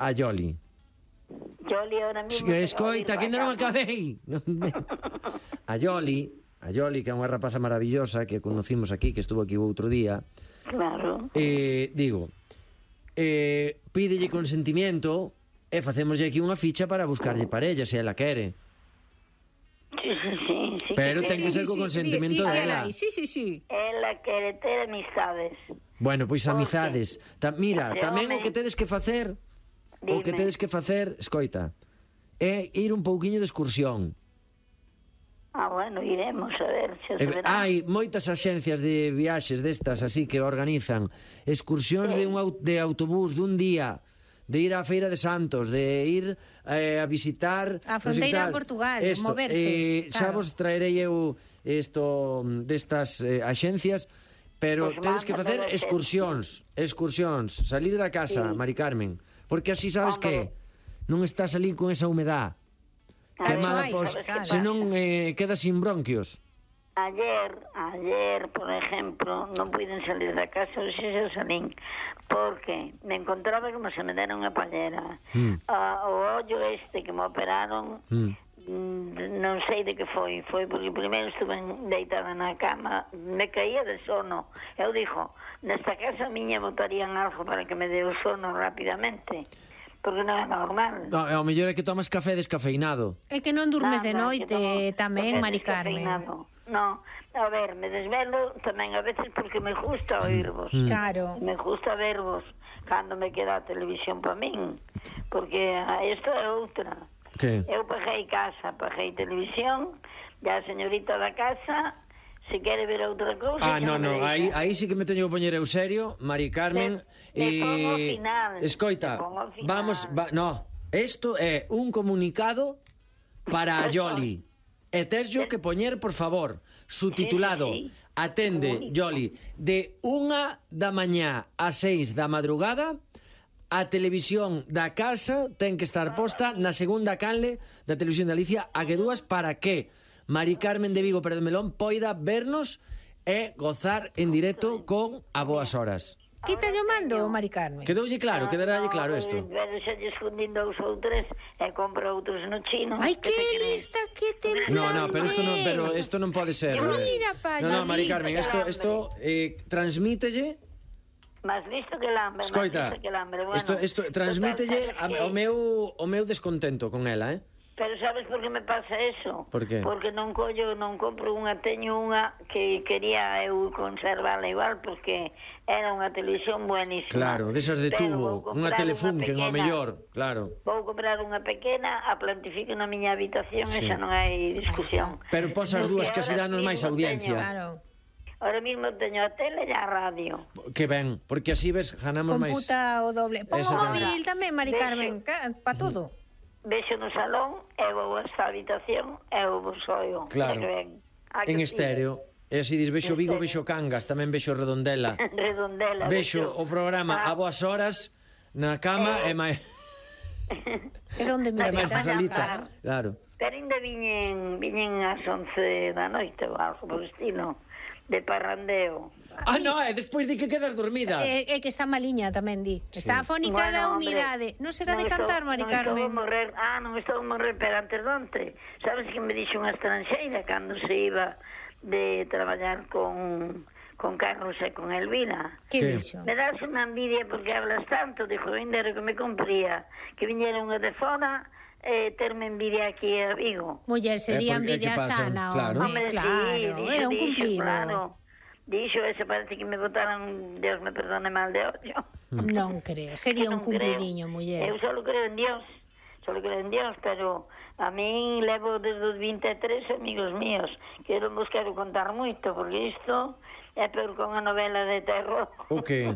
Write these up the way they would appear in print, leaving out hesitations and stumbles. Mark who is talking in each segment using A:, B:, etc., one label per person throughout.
A: a Yoli.
B: Yoli ahora mismo...
A: Escoita, que ainda non acabei. A Yoli, que é unha rapaza maravillosa que conocimos aquí, que estuvo aquí o outro día.
B: Claro.
A: Digo, pídelle consentimiento e facémoslle aquí unha ficha para buscarlle parella, se ela quere.
B: Sí.
A: Pero ten que ser co consentimento dela.
C: Sí.
B: Ela quere ter amistades.
A: Bueno, pois amizades. Mira, tamén o que tedes que facer, escoita, é ir un pouquiño de excursión.
B: Bueno, iremos a ver se se verá.
A: Hai moitas axencias de viaxes destas así que organizan excursións de autobús dun día, de ir á Feira de Santos, de ir a visitar
C: a fronteira de Portugal, moverse.
A: Xa vos traerei eu isto destas axencias, pero tedes que facer excursións, salir da casa, Mari Carmen, porque así sabes que non estás ali con esa humedad. Que mala, senón quedas sin bronquios.
B: Ayer, por ejemplo, non puiden salir da casa, hoxe xa salín, porque me encontraba como se me dera unha pallera. O ollo este que me operaron, non sei de que foi porque primeiro estuve deitada na cama, me caía de sono. Eu dixo, nesta casa miña botarían algo para que me dé o sono rapidamente, porque non é normal.
A: Ao mellor é que tomas café descafeinado.
C: É que non durmes de noite tamén, Mari Carmen.
B: No, a ver, me desvelo tamén a veces porque me gusta oírvos.
C: Claro.
B: Me gusta vervos cando me queda a televisión para min, porque isto é outra.
A: Que?
B: Eu paguei casa, paguei televisión, e a señorita da casa, se quere ver outra cousa...
A: No, aí sí que me teño que poñer eu serio, Mari Carmen.
B: Pongo ao final.
A: Escoita, vamos... Isto é un comunicado para a Yoli. E teslo que poñer, por favor, subtitulado, atende, Yoli, de 1 da mañá a 6 da madrugada, a televisión da casa ten que estar posta na segunda canle da televisión de Galicia, a que dúas, para que Mari Carmen de Vigo Pérez de Melón poida vernos e gozar en directo con A Boas Horas.
C: Quita yo mando, Mari Carmen.
A: Quedoulle claro, quedarálle claro isto.
B: Pero xa lle escondín 2 ou 3 e compro outros no chino.
C: Ai, que lista, que te...
A: No, pero isto non pode ser.
C: Mira, pa,
A: No, Mari Carmen, isto transmítelle.
B: Más listo que el hambre.
A: Escoita, isto transmítelle o meu descontento con ela,
B: Pero sabes por que me pasa eso?
A: Por qué?
B: Porque non compro unha, teño unha que quería eu conservarla igual, porque era unha televisión buenísima.
A: Claro, desas de tubo, unha Telefunken, ao mellor, claro.
B: Vou comprar unha pequena, a plantifico na miña habitación, esa non hai discusión.
A: Pero pos as dúas que así danos máis audiencia.
C: Claro.
B: Ahora mismo teño a tele e a radio.
A: Que ben, porque así ves, ganamos máis.
C: Computa o doble. Pon o móvil tamén, Mari Carmen, pa todo.
B: Vexo no salón, e vou a esta habitación, e vos oio.
A: Claro, en estéreo. E así dis, vexo Vigo, vexo Cangas, tamén vexo Redondela. Vexo o programa A Boas Horas na cama e máis...
C: E onde me
A: metas? Claro.
B: Pero ainda viñen ás 11 da noite, ou algo por estilo, de parrandeo.
A: Despois di que quedas dormida.
C: É que está maliña tamén, di. Está afónica da humidade. Non será de cantar, Mari Carmen?
B: Non estou a morrer, pero antes donte. Sabes que me dixo unha estranxeira cando se iba de traballar con Carlos e con Elvira?
C: Que dixo?
B: Me das unha envidia porque hablas tanto, dixo, ainda era que me compría que viñera unha de fora terme envidia aquí a Vigo.
C: Muller, sería envidia sana,
A: claro.
C: Era un cumplido.
B: Claro. Dixo, ese parece que me botaran, Dios me perdone, mal de ollo.
C: Non creo, sería un cumplidiño, muller.
B: Eu só creo en Dios, pero a mí levo desde os 23 amigos míos, que non vos quero contar moito, porque isto é peor con a novela de terror.
A: O que?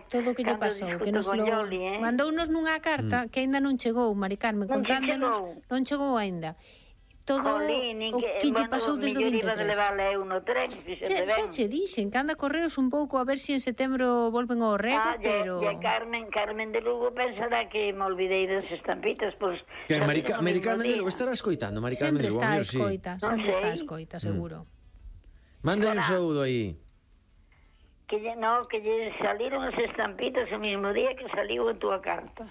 C: Todo o que lle pasou, que nos lo mandounos nunha carta que aínda non chegou, Mari Carmen, contándonos, non chegou aínda. Todo o que lle pasou desde o 23. Xa che dixen que anda correos un pouco a ver se en setembro volven ao rego, pero...
B: E Carmen de Lugo pensará que me olvidei das estampitas, pois...
A: Que Mari Carmen de Lugo estará escoitando, Mari Carmen de Lugo.
C: Sempre está a escoita, seguro.
A: Manda un saúdo aí.
B: que lle saliron as estampitas o mismo día que saliu a túa carta.